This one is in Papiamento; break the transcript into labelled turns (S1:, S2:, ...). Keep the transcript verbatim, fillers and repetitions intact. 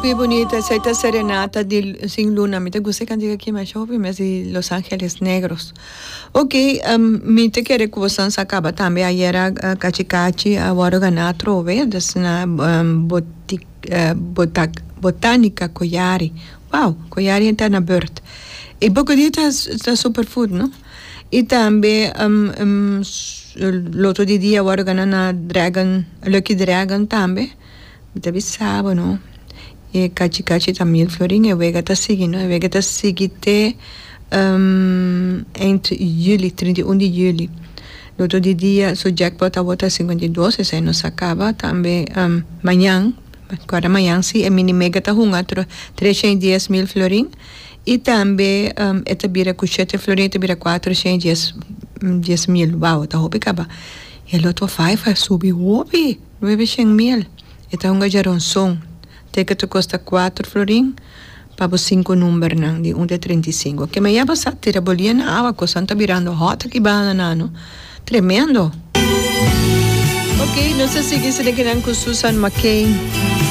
S1: Hopi bunita, esey ta Serenata di Sin Luna. Mi ta gusta e cantica aki masha hopi mes di Los Angeles Negros. Ok, um, mi ta kere cu boso sa caba tambe ayera uh, Cachi Cachi a wordo gana atrobe, dus na um, botic, uh, botac, Botanica Koyari. Wow, Koyari ta na beurt. E Bocodie ta, ta superfood, no? Y tambe um, um, loto di dia a wordo gana na Dragon, Lucky Dragon tambe. Mi ta bisa, no? E Cachi Cachi ta mil florin, e wega ta sigui, no? E wega ta sigui te um, eind juli, trinta i un di juli. Loto di dia, su jackpot tabata cincuenta i dos, esey nos a caba. Tambe um, mañan, guarda mañan si, e mini mega ta hunga trescientos i dies mil florin. Y tambe um, e ta bira cu shete florin, ta bira cuatrocientos i dies mil. Wow, ta hopi caba. E Lotto cinco a subi hopi, nuebecientos mil. E ta hunga djaronson. Ticket ta costa cuater florin pa bo cinco numbernan di un te trinta i cinco. Ke me ya basa tira bolia na awa, cosnan ta birando hot aki banda nano. Tremendo. Ok, nos ta sigui sene kinan cu Susan McCain.